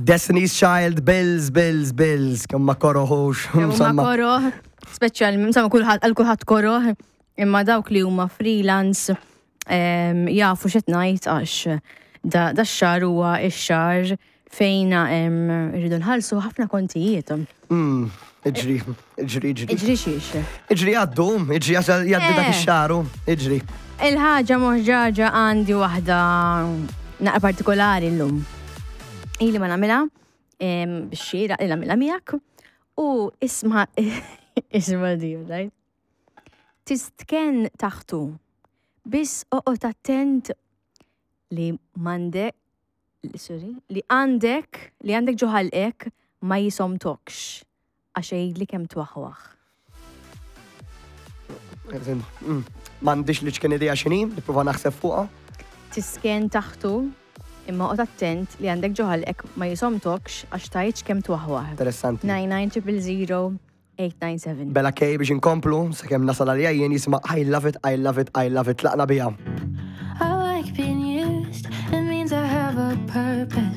Destiny's Child, Bills, Bills, Bills, kemm ma koroħux. Kemm ma koroħ, speċjal, insomma kulħadd għal kulħadd koroħ, imma dawk li huma freelance jafu x'qed ngħid għax da x-xahar huwa x-xahar fejn irridu nħallsu ħafna kontijiet. Mm, iġri, iġri, iġri. Iġri xiex. Iġri għaddu, iġri jgħaddi dak eh. ix-xahar, iġri. Il-ħaġa moħġaġa għandi waħda naqra partikolari llum. Ili ma nagħmilha biex xieraq li nagħmilha miegħek u isma' isma' di, right? Tistkenn taħtu. Biss oqgħod attent li m'għandek sorry, li għandek li għandek ġo ħalqek ma jisomtokx għax għidli kemm twaħwaħ. Mm, m'għandix li ċkien idea x'inhi, nipprova naħseb fuqha. Tisken taħtu imma oqgħod attent li għandek ġo ħalqek ma jisomtokx għax tgħidx kemm twaħwaħ. Interessanti. 99000 897. Bella K biex inkomplu, sakemm nasal għalija jien jisimha I love it, I love it, I love it, tlaqna biha. I like being used, it means I have a purpose.